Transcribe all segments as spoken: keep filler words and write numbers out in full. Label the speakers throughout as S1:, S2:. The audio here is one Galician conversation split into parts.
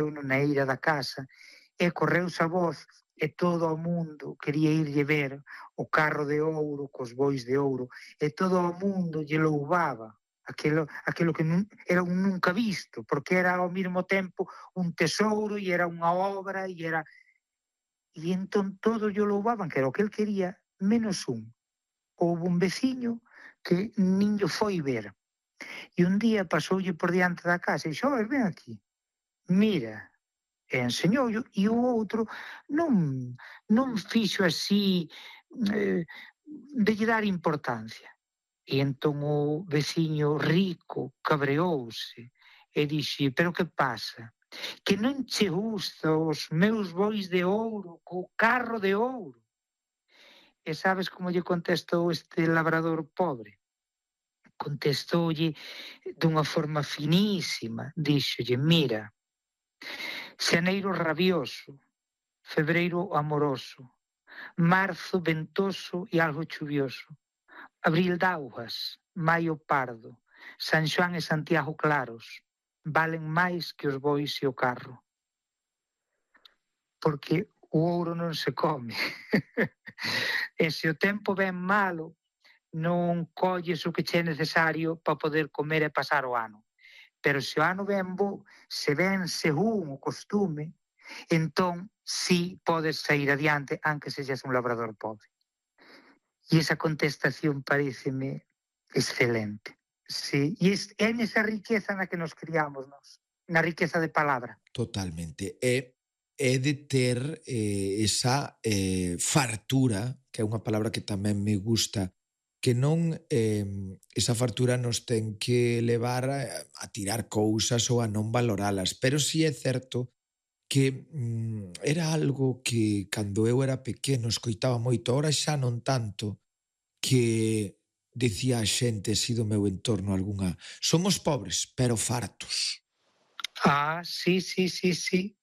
S1: na eira da casa, e correuse a voz, e todo o mundo quería irlle ver o carro de ouro, cos bois de ouro, e todo o mundo lle louvaba aquilo, aquilo que nun, era un nunca visto, porque era ao mesmo tempo un tesouro, e era unha obra, e era... E entón todos lle louvaban, que era o que el quería, menos un. Houve un veciño que nin lle foi ver. E un día pasoulle por diante da casa e dixo: "Oi, ven aquí, mira", e enseñoullo, e o outro non, non fixo así eh, de lle dar importancia. E entón o veciño rico cabreouse e dixe: "Pero que pasa? Que non che gusta os meus bois de ouro, co carro de ouro?" E sabes como lle contestou este labrador pobre? Contestoulle dunha forma finísima, díxolle: "Mira, xaneiro rabioso, febreiro amoroso, marzo ventoso e algo chuvioso, abril daugas, maio pardo, San Xoán e Santiago claros, valen máis que os bois e o carro. Porque o ouro non se come. E se o tempo ven malo, non colles o que che é necesario para poder comer e pasar o ano. Pero se o ano ven bo, se ven según o costume, entón sí podes sair adiante, aunque sexas un labrador pobre." E esa contestación pareceme excelente. Sí, e é nesa riqueza na que nos criamos nós, na riqueza de palabra.
S2: Totalmente. É, é de ter eh, esa eh, fartura, que é unha palabra que tamén me gusta, que non eh, esa fartura nos ten que levar a, a tirar cousas ou a non valoralas, pero si é certo que mm, era algo que cando eu era pequeno escoitaba moito, ahora xa non tanto, que decía a xente así do meu entorno algunha: somos pobres, pero fartos.
S1: Ah, sí, sí, sí, sí.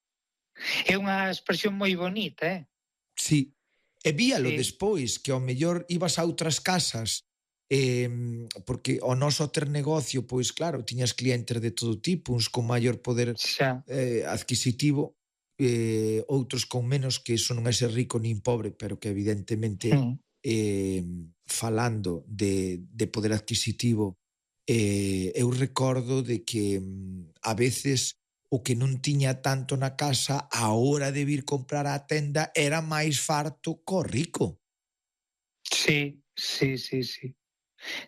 S1: É unha expresión moi bonita, eh?
S2: Sí. E víalo
S1: sí.
S2: despois, que ao mellor ibas a outras casas, eh, porque o noso ter negocio, pois claro, tiñas clientes de todo tipo, uns con maior poder eh, adquisitivo, eh, outros con menos, que iso non é ser rico nin pobre, pero que evidentemente
S1: Mm.
S2: eh, falando de, de poder adquisitivo, eh, eu recordo de que a veces o que non tiña tanto na casa, a hora de vir comprar á tenda era máis farto co rico.
S1: Sí, sí, sí, sí.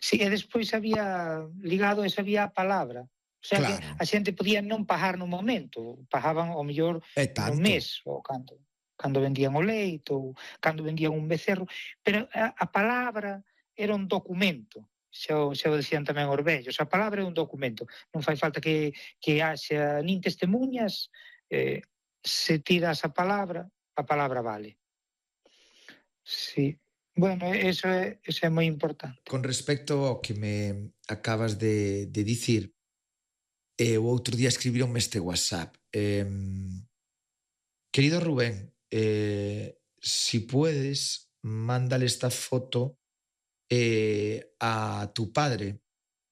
S1: Sí, e despois había, ligado a esa había a palabra. O sea, claro, que a xente podía non pagar no momento, pagaban ao mellor no mes, ou cando, cando vendían o leite, ou cando vendían un becerro, pero a, a palabra era un documento. Xa o, xa o decían tamén os vellos, a palabra é un documento, non fai falta que, que haxa nin testemunhas, eh, se tiras a palabra, a palabra vale. Sí, bueno, eso é, eso é moi importante.
S2: Con respecto ao que me acabas de, de dicir, eh, o outro día escribironme este WhatsApp. Eh, querido Rubén, eh, si puedes, mándale esta foto eh, a tu padre.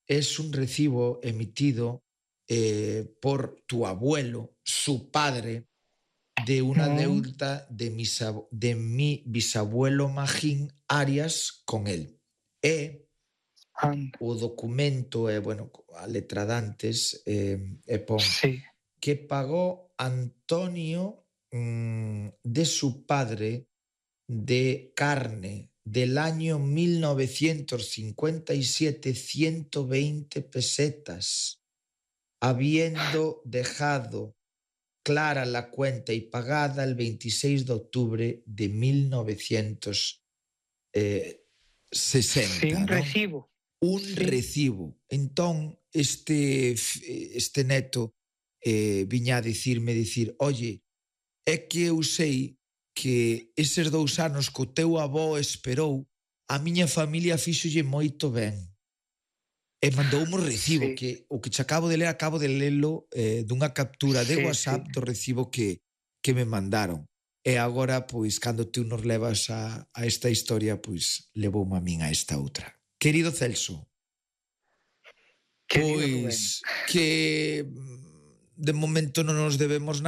S2: Es un recibo emitido eh, por tu abuelo, su padre, de una deuda de, mis, de mi bisabuelo Magín Arias con él. E o documento é, bueno, a letra dantes, eh, e pon
S1: sí.
S2: que pagó Antonio mmm, de su padre de carne del año mil novecientos cincuenta y siete ciento veinte pesetas, habiendo dejado clara la cuenta y pagada el veintiséis de octubre de mil novecientos sesenta.
S1: Sí, un
S2: ¿no?
S1: recibo.
S2: Un
S1: sí.
S2: recibo. Entón, este, este neto eh, viña a dicirme, dicir, oye, é que eu sei que eses dous anos que o teu avó esperou, a miña familia fíxolle moito ben. E mandoume un recibo, sí. que o que che acabo de ler, acabo de lelo eh, dunha captura de sí, WhatsApp sí. do recibo que, que me mandaron. E agora, pois, cando tú nos levas a, a esta historia, pois, levoume a min a esta outra. Querido Celso,
S1: Querido
S2: pois, Rubén. Que de momento non nos debemos nada,